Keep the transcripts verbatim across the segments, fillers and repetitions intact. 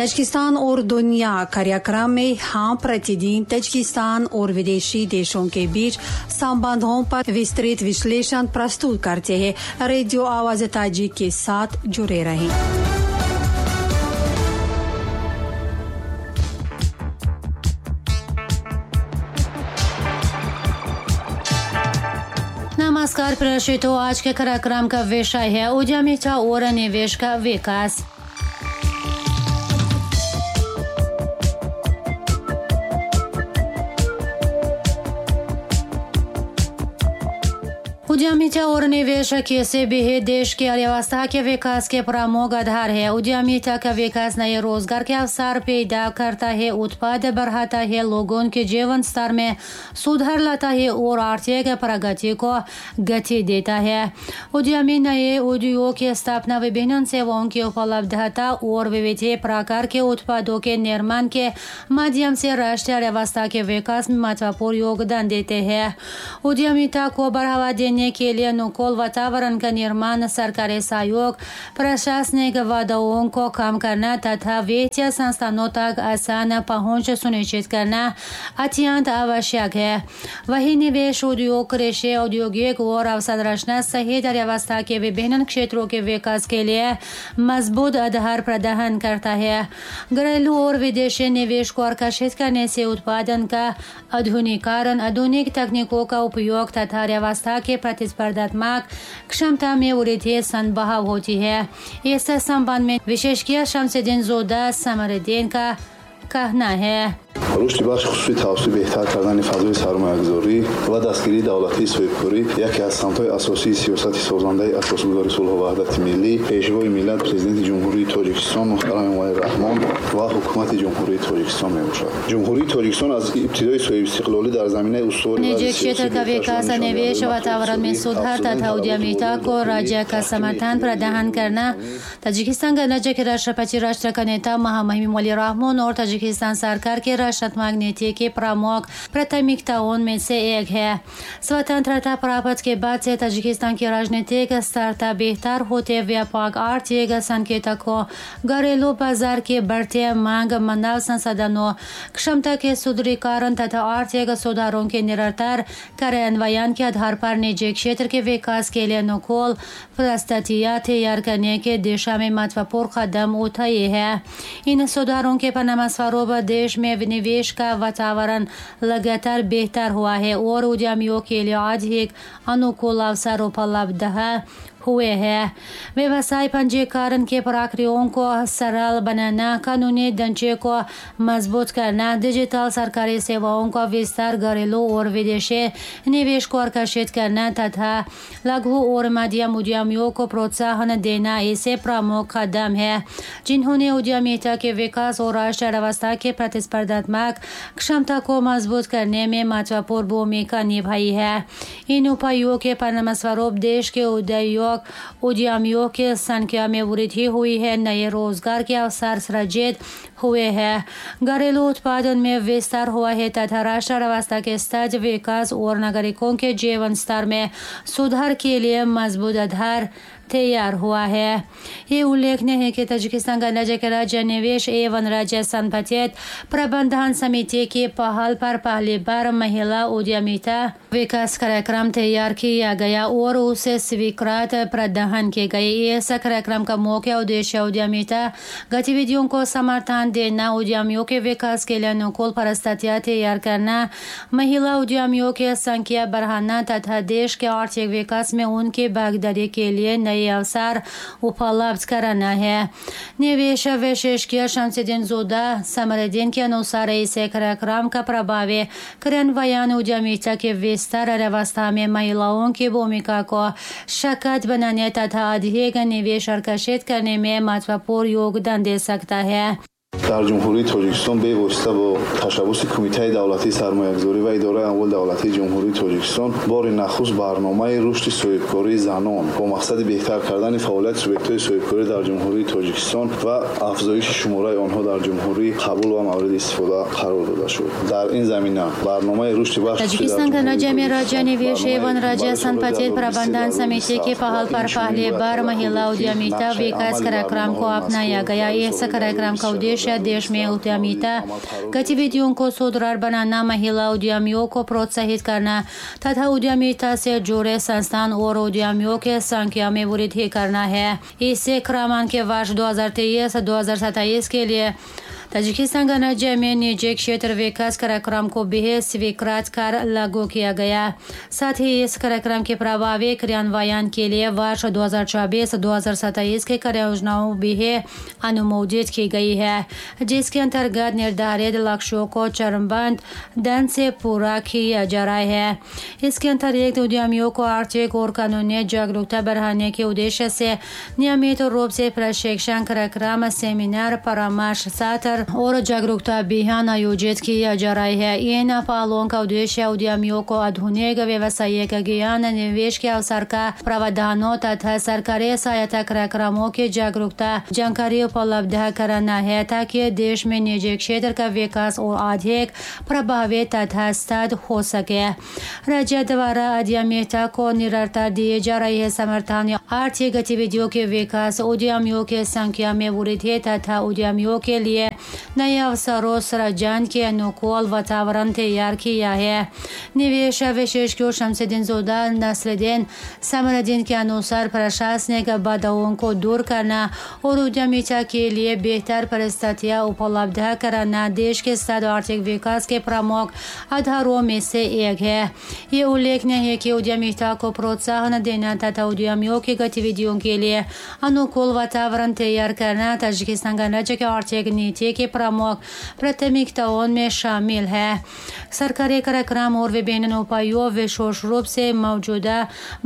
Tajikistan और दुनिया कार्यक्रम में हम प्रतिदिन ताजिकिस्तान और विदेशी देशों के बीच संबंधों पर विस्तृत विश्लेषण प्रस्तुत करते हैं। रेडियो आवाज ताजिक के साथ जुड़े रहें। नमस्कार प्रेक्षितों, आज के कार्यक्रम का विषय है उद्यमिता और निवेश का विकास। उद्यमिता और निवेश किसी भी देश की अर्थव्यवस्था के विकास के प्रमुख आधार है। उद्यमिता का विकास नए रोजगार के अवसर पैदा करता है, उत्पाद बढ़ाता है, लोगों के जीवन स्तर में सुधार लाता है और आर्थिक प्रगति को गति देता है। उद्यमी नए उद्योग की स्थापना, विभिन्न सेवाओं की उपलब्धता और विविध प्रकार के उत्पादों के निर्माण के माध्यम से राष्ट्रीय अर्थव्यवस्था के विकास में महत्वपूर्ण योगदान देते हैं। उद्यमिता को बढ़ावा देने के लिए अनुकूल वातावरण का निर्माण, सरकारी सहयोग, प्रशासनिक बाधाओं को कम करना तथा वित्तीय संस्थानों तक आसान पहुंच सुनिश्चित करना अत्यंत आवश्यक है। वहीं निवेश, उद्योग, कृषि, औद्योगिक और अवसंरचना सहित अर्थव्यवस्था के विभिन्न क्षेत्रों के विकास के लिए मजबूत आधार प्रदान करता है। घरेलू और विदेशी निवेश को आकर्षित करने से उत्पादन का आधुनिकीकरण, आधुनिक तकनीकों का उपयोग तथा अर्थव्यवस्था के प्रतिस्पर्धात्मक क्षमता में वृद्धि संभव होती है। इस संबंध में विशेषज्ञ शमसुद्दीन जोदा समरुद्दीन का कहना है। рушди бахши хусусӣ тавассути беҳтар кардани фазои сармоягузорӣ ва дастгирии давлатии соҳибкорӣ яке аз самтҳои асосии сиёсати созандаи асосгузори сулҳу ваҳдати миллӣ, пешвои миллат, президенти Ҷумҳурии Тоҷикистон муҳтарам Эмомалӣ Раҳмон ва ҳукумати Ҷумҳурии Тоҷикистон мебошад. Ҷумҳурии Тоҷикистон аз ибтидои соҳибистиқлолӣ дар заминаи устувори निजी क्षेत्र का विकास, निवेश, वातावरण में सुधार तथा उद्यमिता को राज्य का समर्थन प्रदान करना ताजिकिस्तान गणराज्य के राष्ट्रपति, राष्ट्र का नेता महामहिम इमोमाली रहमोन और ताजिकिस्तान सरकार के राष्ट्रात्मक नीति के प्रमुख प्राथमिकताओं में से एक है। स्वतंत्रता प्राप्त के बाद से ताजिकिस्तान की राजनीतिक स्थिरता बेहतर होते व्यापक आर्थिक संकेतकों, घरेलू बाजार के बढ़ते मांग, मानव संसाधनों क्षमता के सुदृढ़ीकरण तथा आर्थिक सुधारों के निरंतर कार्यान्वयन के आधार पर निजी क्षेत्र के विकास के लिए अनुकूल परिस्थितियां तैयार करने के दिशा में महत्वपूर्ण कदम उठाए हैं। इन सुधारों के परिणामस्वरूप देश में निवेश का वातावरण लगातार बेहतर हुआ है और उद्यमियों के लिए अधिक अनुकूल अवसर उपलब्ध हुए हैं। व्यवसाय पंजीकरण के प्रक्रियाओं को सरल बनाना, कानूनी ढांचे को मजबूत करना, डिजिटल सरकारी सेवाओं का विस्तार, घरेलू और विदेशी निवेश को आकर्षित करना तथा लघु और मध्यम उद्यमियों को प्रोत्साहन देना ऐसे प्रमुख कदम है जिन्होंने उद्यमिता के विकास और राष्ट्रीय अर्थव्यवस्था के प्रतिस्पर्धात्मक क्षमता को मजबूत करने में महत्वपूर्ण भूमिका निभाई है। इन उपायों के परिणामस्वरूप देश के उद्योग उद्यमियों की संख्या में वृद्धि हुई है, नए रोजगार के अवसर सृजित हुए हैं, घरेलू उत्पादन में विस्तार हुआ है तथा राष्ट्र अर्थव्यवस्था के स्तर विकास और नागरिकों के जीवन स्तर में सुधार के लिए मजबूत आधार तैयार हुआ है। ये उल्लेखनीय है कि ताजिकिस्तान गणराज्य के राज्य निवेश एवं राज्य संपत्ति प्रबंधन समिति की पहल पर पहली बार महिला उद्यमिता विकास कार्यक्रम तैयार किया गया और उसे स्वीकृत प्रदान की गई। इस कार्यक्रम का मुख्य उद्देश्य उद्यमिता गतिविधियों को समर्थन देना, उद्यमियों के विकास के लिए अनुकूल परिस्थितियां तैयार करना, महिला उद्यमियों की संख्या बढ़ाना तथा देश के आर्थिक विकास में उनकी भागीदारी के लिए नए अवसर उपलब्ध कराना है। निवेश विशेषज्ञ शमसुद्दीन जोदा समरुद्दीन के अनुसार इस कार्यक्रम का प्रभावी क्रियान्वयन उद्यमिता के विस्तार, अर्थव्यवस्था में महिलाओं की भूमिका को सशक्त बनाने तथा अधिक निवेश आकर्षित करने में महत्वपूर्ण योगदान दे सकता है। Дар Ҷумҳурии Тоҷикистон бевосита бо ташаббуси Кумитаи давлатии сармоягузорӣ ва Идораи амволи давлатии Ҷумҳурии Тоҷикистон бори нахуст барномаи рушди соҳибкории занон бо мақсади беҳтар кардани фаъолияти субъектҳои соҳибкорӣ дар Ҷумҳурии Тоҷикистон ва афзоиши шумораи онҳо дар ҷумҳурӣ қабул ва мавриди истифода қарор дода шуд. Дар ин замина барномаи рушди бахши Таджикистан गणराज्य में राज्य निवेश एवं राज्य संपत्ति प्रबंधन समिति की पहल पर पहली बार महिला उद्यमिता विकास कार्यक्रम को अपनाया गया। इस कार्यक्रम का उद्देश्य देश में उद्यमिता गतिविधियों को सुदृढ़ बनाना, महिला उद्यमियों को प्रोत्साहित करना तथा उद्यमिता से जुड़े संस्थान और उद्यमियों के संख्या में वृद्धि करना है। इसे क्रमांक के वर्ष दो हजार तेईस दो हजार सत्ताईस के लिए ताजिकिस्तान गणराज्य में निजी क्षेत्र विकास कार्यक्रम को भी स्वीकृत कर लागू किया गया। साथ ही इस कार्यक्रम के प्रभावी क्रियान्वयन के लिए वर्ष दो हजार चौबीस दो हजार सत्ताईस के कार्ययोजनाओं भी अनुमोदित की गई है, जिसके अंतर्गत निर्धारित लक्ष्यों को चरणबद्ध ढंग से पूरा किया जा रहा है। इसके अतिरिक्त उद्यमियों को आर्थिक और कानूनी जागरूकता बढ़ाने के उद्देश्य से नियमित रूप से प्रशिक्षण कार्यक्रम, सेमिनार, परामर्श सत्र और जागरूकता अभियान आयोजित किया जा रहा है। इन पहलों का उद्देश्य उद्यमियों को आधुनिक व्यवसायिक ज्ञान, निवेश के अवसर का प्रावधानों तथा सरकारी सहायता कार्यक्रमों की जागरूकता जानकारी उपलब्ध कराना है, ताकि देश में निजी क्षेत्र का विकास और अधिक प्रभावी तथा स्थायी हो सके। राज्य द्वारा उद्यमिता को निरंतर दिए जा रहे समर्थन, आर्थिक गतिविधियों के विकास, उद्यमियों की संख्या में वृद्धि तथा उद्यमियों के लिए नए अवसरों सृजन के अनुकूल वातावरण तैयार किया है। निवेश विशेषज्ञ शमसुद्दीन नसरुद्दीन समरुद्दीन के अनुसार प्रशासनिक बाधाओं को दूर करना और उद्यमिता के लिए बेहतर परिस्थितियां उपलब्ध कराना देश के साथ आर्थिक विकास के प्रमुख आधारों में से एक है। ये उल्लेखनीय है कि उद्यमिता को प्रोत्साहन देना तथा उद्यमियों की गतिविधियों के लिए अनुकूल वातावरण तैयार करना ताजिकिस्तान गणराज्य के आर्थिक नीति के प्रमुख प्राथमिकताओं में शामिल है। सरकारी कार्यक्रम और विभिन्न उपायों विशेष रूप से मौजूदा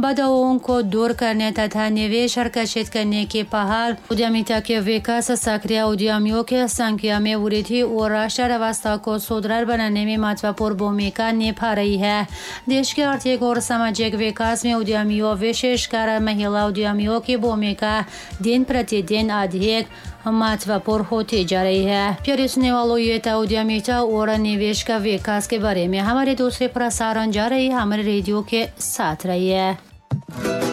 बाधाओं को दूर करने तथा निवेश आकर्षित करने की पहल उद्यमिता के विकास, सक्रिय उद्यमियों की संख्या में वृद्धि और राष्ट्र व्यवस्था को सुदृढ़ बनाने में महत्वपूर्ण भूमिका निभा रही है। देश के आर्थिक और सामाजिक विकास में उद्यमियों, विशेषकर महिला उद्यमियों की भूमिका दिन प्रतिदिन अधिक महत्वपूर्ण होती जा रही है। प्यारे सुनने वालों, ये था उद्यमिता और निवेश का विकास के बारे में हमारे दूसरे प्रसारण जा रही है। हमारे रेडियो के साथ रहिए।